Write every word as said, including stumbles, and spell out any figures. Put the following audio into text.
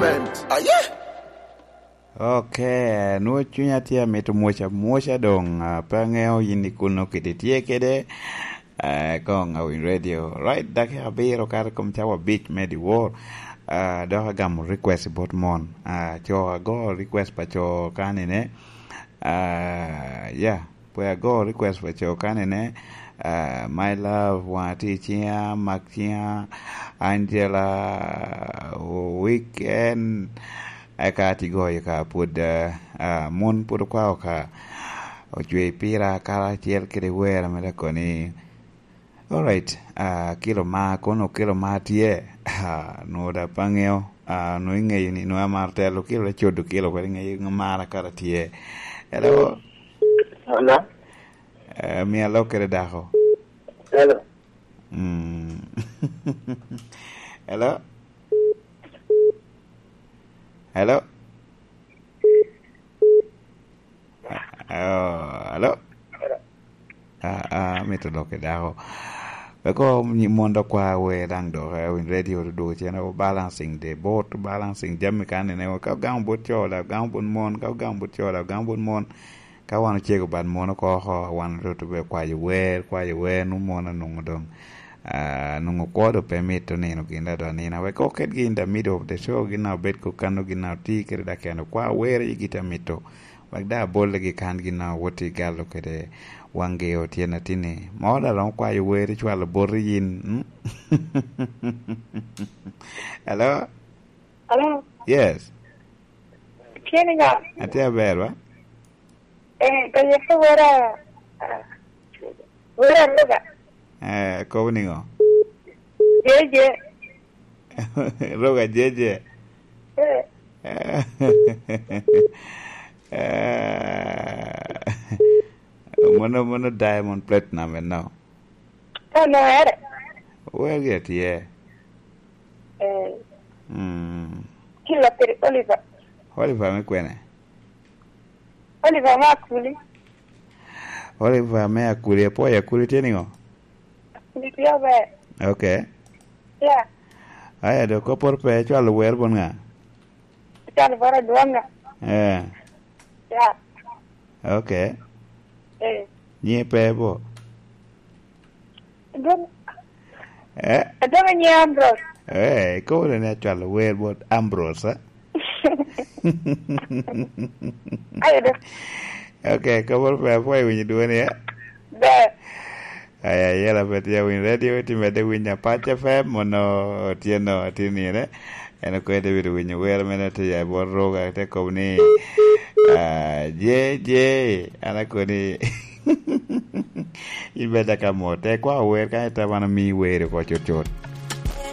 Aye. Ok, nwoŋo cunya tye amito mwoc amwoca doŋ, ah, pe aŋeo yin i kuno kede tye kede, ah, koŋ Awiny Radio. Right, dakika abiro kato i kom cawa abic me dyewor. Ah, dok agamo request bot mon. Ah, co ago request pa co kanine. Ah, yeah, pwod ago request pa co kanine. Ah, My Love, Waŋa tye i ciŋa, Mak Ciŋa, Angela, Weekend, eka ati goyo ka pwod, ah, ah, mon pwod okwao ka, ocwe pira karacel kede wer ame dok koni. Alright, ah, kilo ma, kono kilo ma tye, ah, nwoŋo da pe aŋeo, ah, nwoŋo iŋeyo ni nwoŋo amaro telo kilo, te codo kilo, kadi iŋeyo ŋo mara kara tye. Hello? Hello? Eh, mi alok kede dako. Hello? Mm. Hello? Hello? Ah, hello? Ah, ah, amito dok i dako. Weko nyi-, mon dok kwa wer daŋ dok, eh, Winy Radio dok cen o balancing the boat, balancing jami kan nene, ka ogamo bot co, dok gamo bot mon, ka ogamo bot co, dok gamo bot mon. Ka wan ocego bad mon oko, oko, wan otutu be kwayo wer, kwayo wer, nwoŋo mon onwoŋo doŋ, ah, nwoŋo kwo doŋ pe mito nino gin da doŋ nino. Wek oket gin in the middle of the show, gin na obed ko kano, gin na oti kede dok en okwa wer i gin a mito. Wek da abolle gi kan gin na wot i galo kede waŋgi otyen atini. Ma wan aromo kwayo wer icwalo boti yin, mm? Hello? Hello? Yes. Tye niŋa? Atye aber, wa? Eh, ka yeko wera, ah, wera Roga. Eh, kobo niŋo? Jeje. Roga Jeje. Eh. Eh, mono, mono Diamond Platinum eno. Ka onwoŋo ere? Wer gi atye. Eh. Mm. Kilo piri Oliver. Oliver me kwene? Oliver me Akuli. Oliver me Akuli, apwoyo Akuli tye niŋo? Akuli tye aber. Ok. Ya. Aya, dok kopporo pe, icwalo wer bot ŋa? Icwalo bot Adwoŋ ŋa? Eh. Ya. Ok. Eh. Nyiŋe pe bo? Adwoŋ. Eh? Adwoŋ nyiŋe Ambrose. Eh, ikobo ni acwalo wer bot Ambrose, eh? Ayo do. Ok, kobo pe, apwoyo winyo dwoni, eh? Ber. Aya, yela pe tye Winy Radio, itye medde winyo Apac F M, mono otyeno, atye nire. En okobo David winyo wer mene tye ya i bot Roga, te kobo ni, ah, je, je, an akoni, in bed daka mot. Te kwa wer ka ita wan omi wer oko cut cut.